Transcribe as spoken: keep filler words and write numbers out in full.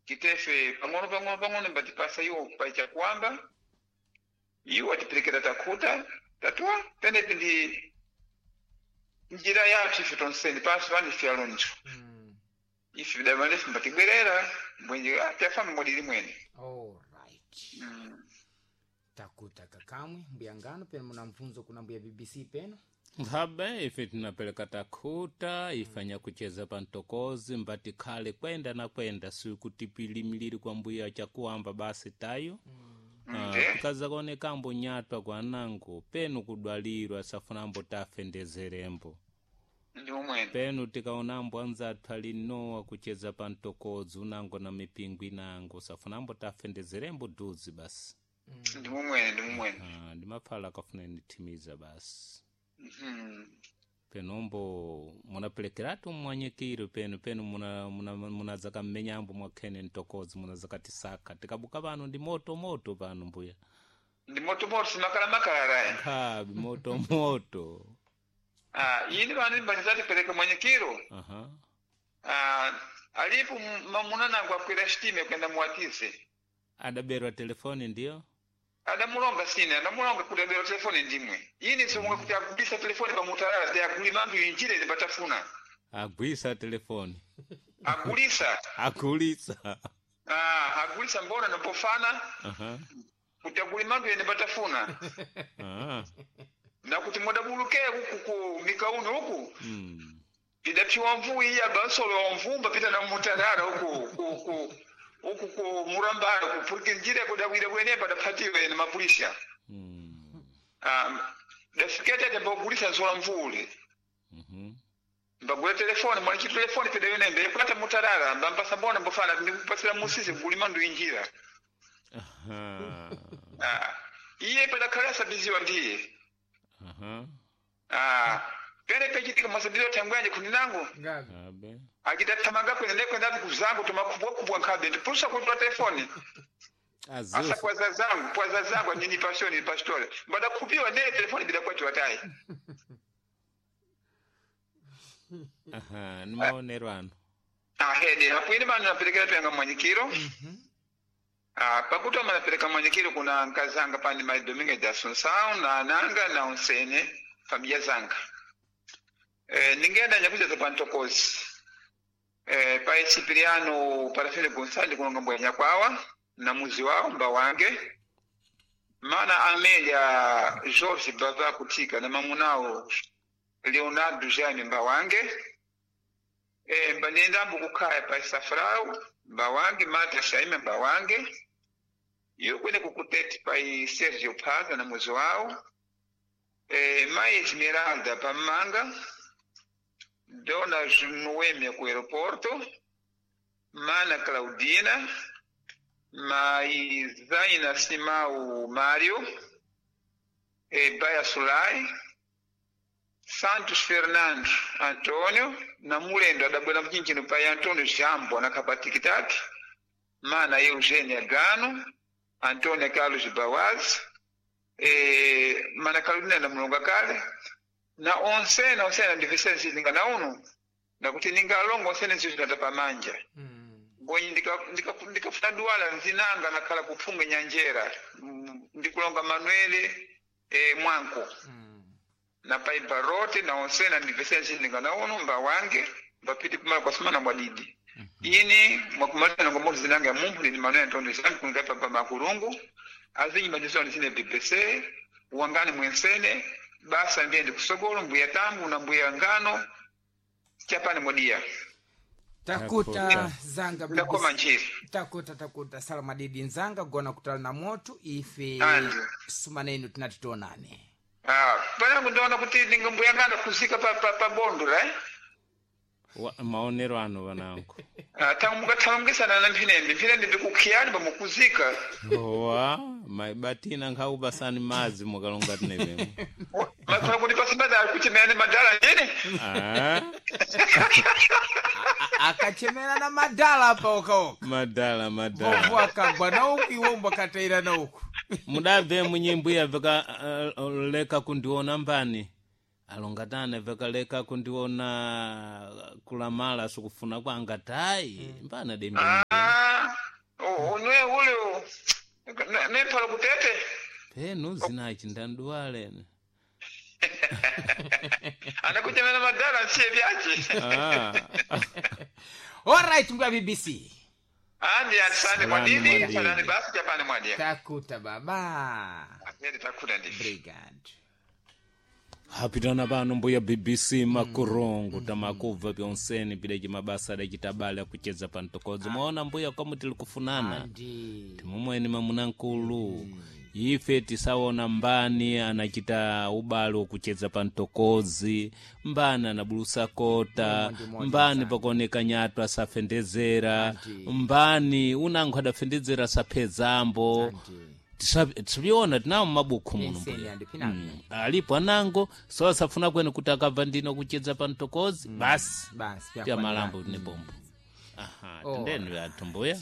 Kitefe pang'ono pang'ono pang'ono mbatipasa iwo pacha kuamba iwo atiperekera takhuta tatua penepi ndi njira yathu ife tonseni pansi pani ife alonjo Mm. ife vidamalefu mbatibwerera mbwenje tafamba mwadili mwene. Alright. Mm. Takuta kakamwe mbuya ngano peno muna mfunzo kuna mbuya B B C peno. Nkhabe ife tinapeleka takhuta ifanya kucheza pa mtokozi mbati khale kwenda na kwenda sikutipilimiliri kwa mbuya chakuamba basi tayo. Ah, Nde tikaza kuonekambo nyatwa kwa anango penu kudwalirwa safunambo tafendezerembo. Ndi umwene. Penu tikaonambo anzathu ali nowa kucheza pa mtokozi unango na mipingo inango safunambo tafendezerembo duzi basi. Ndi mumwene, ndi mumwene. Ah, ndimaphala akafuna nithimiza basi. Mhm. Penombo munapelekeratu mmwanyikiro penu penu muna- muna- munazaka mmenyambo mwakhene mtokozi munazakatisaka tikabuka pano ndi moto moto pano mbuya. Ndi motomoto simakala makala raya. Nkhabi moto moto. Ah, ini vanu mbatizatipereka mwanyikiro. Aha. Ah, alipo mamunanango akwira shitime kwenda muwatize. Adaberwa telefoni ndiyo. Adamulonga sine adamulonga kuti abera telefoni ndimwe ini somunga kuti agulisa telefoni pamutalala te agulima antu injire zipatafuna. Agwisa telefoni. Agulisa. Agulisa. Ah, agulisa mbona nopofana Aha. kuti agulima antu ene patafuna. Ah. Na kuti modabuluke uku ku mikauno uku Mm. idaphiwa mvuwu iya basolo wa mvumba pita na mutalala uku ku ku uku ku murambala kupurikira njira kudawira bwenepa daphatiwe na mapulisha. Mm. Ah, dafikete ate mbagulisa nzola mvule. Mhm. Mbagula telefoni mwaniki telefoni peda yonembe kwata mutalala mbampasa mbona mbofana ndikupasira musisi kulima ndu injira. Aha. Ah, iye padakhala sabiziwa ndiye. Aha. Ah, pene pechitika masabiziwa thangwanje khundi nangu. Ngabi. Abe. Akitathamanga kwene nekwenda kuzangu tumakubwakubwa nkhabe ndipulusa kutula telefoni asa Azusa. kwaza zangu kwaza zangu nini pashoni pastore mbadakhupiwa nene telefoni bidakwatiwa tayi. Aha, ni maonero ano. Ahede apo mano naperekera penga mwanyikiro. Mhm. Ah, pakuti amanapereka mwanyikiro kuna nkazanga pani mai Domingo de Assunção na ananga na onsene familia zanga. Eh, ningenda nyakuza pa ntokozi eh, pa Cipriano Parafile Gonçalves kulonga mbwenya kwawa na muzi wawo mba wange mana Amelia Jorge Bava kutika na mamunawo Leonardo Jaime mba wange eh, mba nendambo kukhaya pa Safrau mba wange Mata Shaime mba wange iyo kwene kukuteti pa Sergio Phaza na muzi wawo eh, mai Esmeralda pa Manga Dona Noêmia com o aeroporto, Mana Claudina, Mai Zaina Simão Mário, eh, Baia Sulai, Santos Fernando Antônio, na Mulendo, adabwela mchinchino pai Antônio Jambo na Kapatikitaki, Mana Eugênia Gano, Antônia Carlos Bawaz, eh, Mana Carolina na Mulonga Kale, na onsena onsena ndivisene ninga na uno nakuti ningalongo onsene nzizinata pamanja. Mm. Gonyi ndikafuna ndika, ndika duwala nzinanga nakhala kuphunga nyanjera. Mm, ndikulonga Manuele eh, mwanko. Mm. Na pai barote na onsena ndivisene ninga na uno mba wange mbapiti kumala kwa sumana mwadidi ini mwakumaliza nangomoto zinanga ya mumphu ndini Manuel Antonio zangu kungapa pa makulungu azinyi madizoni zine B B C wangani mwensene basa ndiye ndikusogolo mbuya tangu na mbuya ngano chapani modia. Takuta. Takuta. Zanga Ndakoma B B C. njiri. Takuta, takuta salama didi nzanga gona kutala na moto ife. Andi. Sumanenu tinati tionane. Ah, panangu ndaona kuti ninga mbuya ngano kuzika pa, pa, pa bondo ra eh? Wa- maonero ano vanangu. Ah, tangu mukathamangisana na mphinembe mphinembe ndikukhiyani pamukuzika. Wa maibatina nkhawu basani madzi mukalonga tinevemo. Makhala kuti pasimadala kuchemerani madala ndine. Ah, A- akachemera na madala apa okaoka. Madala madala. Vovo akagwa na uku iwombo akataira na uku. Mudabve munyimbo iya veka uh, leka kundiona mbani alongatana veka leka kundiona kulamala sikufuna kwanga tayi mbana dembe. Ah. Unwe ule nemphala kutete. Penu zinachi ndanduwalene. Anakuchemera madala nsiye vyache. Ah. Alright, mbuya B B C. Andi asante. Salani Mwadidi. mwadidi. Salani basi japani mwadia. Takuta baba. Asante, takuta ndivi. Brigade. Hapitana pano mbuya B B C makurungu tamakubva pyonseni pileji mabasa adachitabale akucheza pa mtokodzo. Mwaona mbuya komu tili kufunana. Andi. Timumweni mamuna nkulu ife tisaona mbani anachita ubale wokucheza pa mtokozi, mbani anabulusa kota, Ndi moja mbani sana. pakuoneka nyatu asafendezera, Andi. mbani unango adafendezera saphezambo. Andi. Tisa- tisaviona tinawo mmabuku muno Penseni mbuya. andi pinako. Mm. Alipo anango so asafuna kwene kuti akabva ndino kucheza pa mtokozi basi. Basi Pya malambo ni bombo. Aha. Oh. Tendeni athu mbuya.